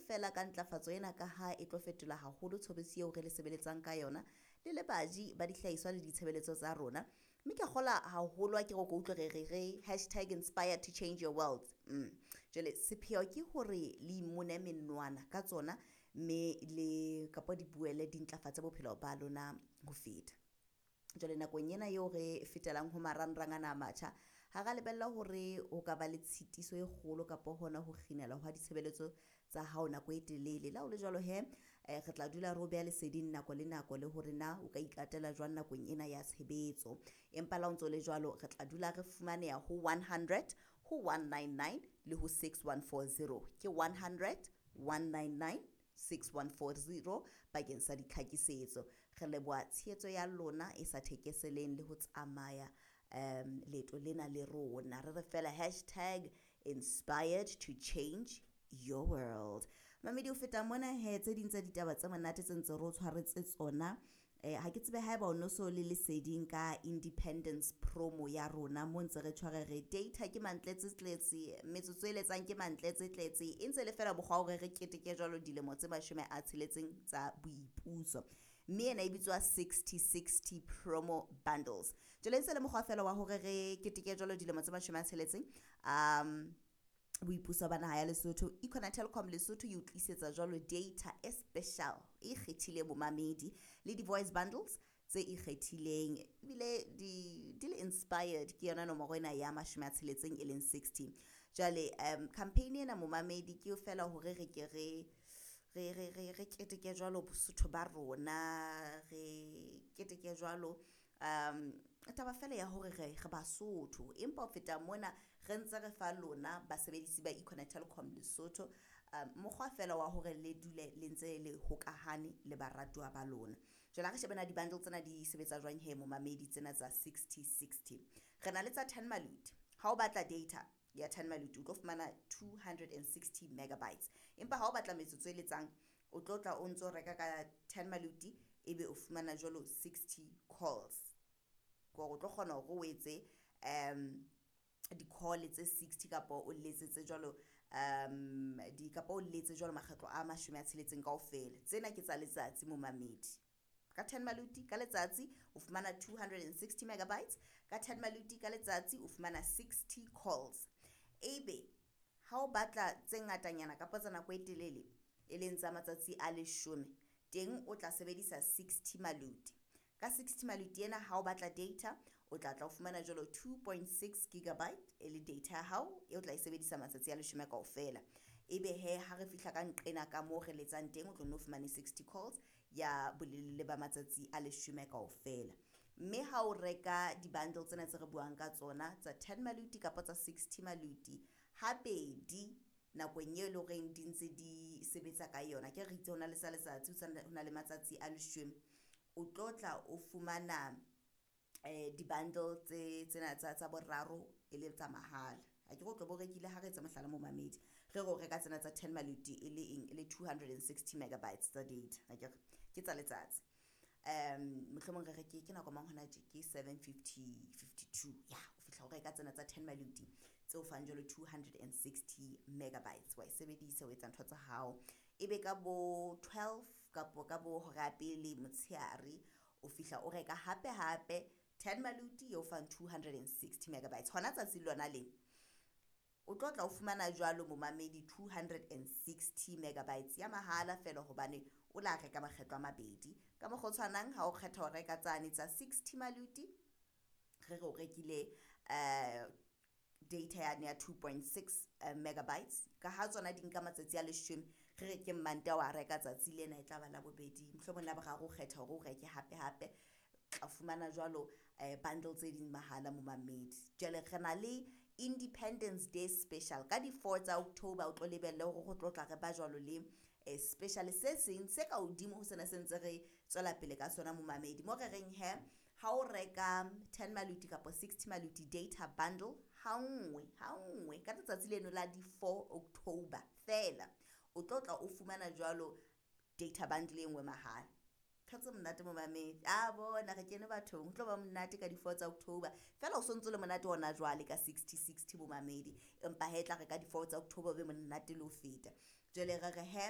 feela ka ntlafatso ena ka ha e tlo fetola haholo tshobotsi eo re le sebeletsang ka yona le le baji ba dihlahiswa le ditshebeletso tsa rona. Mme ke kgola haholo ha ke re o ko utlwe re re re #inspiredtochangeyourworld. Jwale sepheo ke hore le imone menwana ka tsona mme le kapa di boele di ntlafatse bophelo ba lona ho feta. Jwale nakong ena eo re fetelang ho marangrang ana a matjha, ha ra lebella hore ho ka ba le tshitiso e kgolo kapa hona ho kginelwa hwa ditshebeletso tsa hao nako e telele. Le ha ho le jwalo he, re tla dula re o beha leseding nako le nako le hore na o ka ikatela jwang nakong ena ya tshebetso. Empa le ha o ntso le jwalo, re tla dula re fumaneha ho 100, ho 199 le ho 6140. Ke 100, 199, 6140 bakeng sa ditlhakisetso. Re leboha tshehetso ya lona e sa thekeseleng le ho tsamaya leeto lena le rona. Re re fela #inspiredtochangeyourworld. Mamedi ho feta mona he, tse ding tsa ditaba tse monate tse ntse re o tshwaretse tsona, ha ke tsebe haeba o no so le leseding ka Independence promo ya rona mo ntse re tshware re data ke mantletse tletse, metsotso e letsang ke mantletse tletse, e ntse le feela mokgwa wa hore re keteke jwalo dilemo tse 60 tsa boipuso. Mme ena e bitswa 60-60 promo bundles. Jwale e ntse le mokgwa feela wa hore re keteke jwalo dilemo tse 60 boipuso ba naha ya Lesotho. Econet Telkom Lesotho e o tlisetsa jwalo data e special e ikgethileng momamedi le di-voice bundles tse ikgethileng ebile di le inspired ke yona nomoro ena ya 60 e leng 60. Jwale campaign ena momamedi ke feela hore re ke re re re re re keteke jwalo Bosotho ba rona, re keteke jwalo taba fela ya hore re Basotho. Empa ho feta mona re ntse re fa lona basebedisi ba Econet Telkom Lesotho mokgwa fela wa hore le dule le ntse le hokahane le baratuwa ba lona. Jwale ha re shebe na di-bundle tsena di sebetsa jwang he momamedi tsena tsa 60-60. Re na le tsa 10 maluti. Ha o batla data ya 10 maluti o tlo fumana 260 megabytes. Empa ha o batla metsotso e letsang o tlo tla o ntso reka ka 10 maluti ebe o fumana jwalo 60 calls. Kore o tlo kgona hore o etse di-call tse 60 kapa o letsetse jwalo di kapa o letse jwalo makgetlo a 60 kaofela. Tsena ke tsa letsatsi momamedi. Ka 10 maluti ka letsatsi o fumana 260 megabytes, ka 10 maluti ka letsatsi o fumana 60 calls. Ebe ha o batla tse ngatanyana kapa tsa nako e telele e leng tsa matsatsi a 10, teng o tla sebedisa 60 maluti. Ka 60 maluti ena ha o batla data o tla tla o fumana jwalo 2.6 gigabyte e le data ya hao e o tla e sebedisa matsatsi a 10 kaofela. Ebe he ha re fihla ka nqena ka moo re letsang teng o tlo no fumane 60 calls ya bolelele ba matsatsi a 10 kaofela. Mme ha o reka di-bundle tsena tse re buang ka tsona tsa 10 maluti kapa tsa 60 maluti habedi nakong eo e leng horeng di ntse di sebetsa ka yona, ke re itse ho na le tsa letsatsi, ho na le matsatsi a 10, o tlo tla o fumana di-bundle tse tsena tsa boraro e le tsa mahala. Ha ke re o tlo bo rekile ha re etsa mohlala momamedi, re re o reka tsena tsa 10 maluti e le eng, e le 260 megabytes tsa data, akere ke tsa letsatsi. Mohlomong re re ke nako mang hona tje, ke 7:52, ya o fihla o reka tsena tsa 10 maluti tse o fang jwalo 260 megabytes, wa e sebedisa o etsa ntho tsa hao. Ebe ka bo 12 kapo ka bo hora ya pele motshehare o fihla o reka hape hape 10 maluti e o fang 260 megabytes. Hona tsatsi lona lena o tlo tla o fumana jwalo momamedi 260 megabytes ya mahala feela hobane o la reka makgetlo a mabedi. Ka mokgwa o tshwanang ha o kgetha ho reka tsane tsa 60 maluti, re re o rekile data yane ya 2.6 megabytes, ka ha tsona di nka matsatsi a 10, re re ke Mmantaha wa reka tsatsi lena e tla ba Labobedi, mohlomong Laboraro o kgetha hore o reke hape hape, tla fumana jwalo bundle tse ding mahala momamedi. Jwale re na le Independence Day special ka di 4 tsa October, o tlo lebelle hore go tlo tla re ba jwalo le special se seng se ka hodimo ho sena se ntse re tswela pele ka sona momamedi. Mo re reng he ha o reka 10 maluti kapa 60 maluti data bundle ha nngwe ka letsatsi leno la di 4 October fela, o tlo tla o fumana jwalo data bundle e nngwe mahala. Ntho tse monate momamedi, a bona re kene bathong, ho tlo ba monate ka di 4 tsa October fela o sontso le monate hona jwale ka 60-60 momamedi, empa he tla re ka di 4 tsa October o be monate le ho feta. Jwale re re he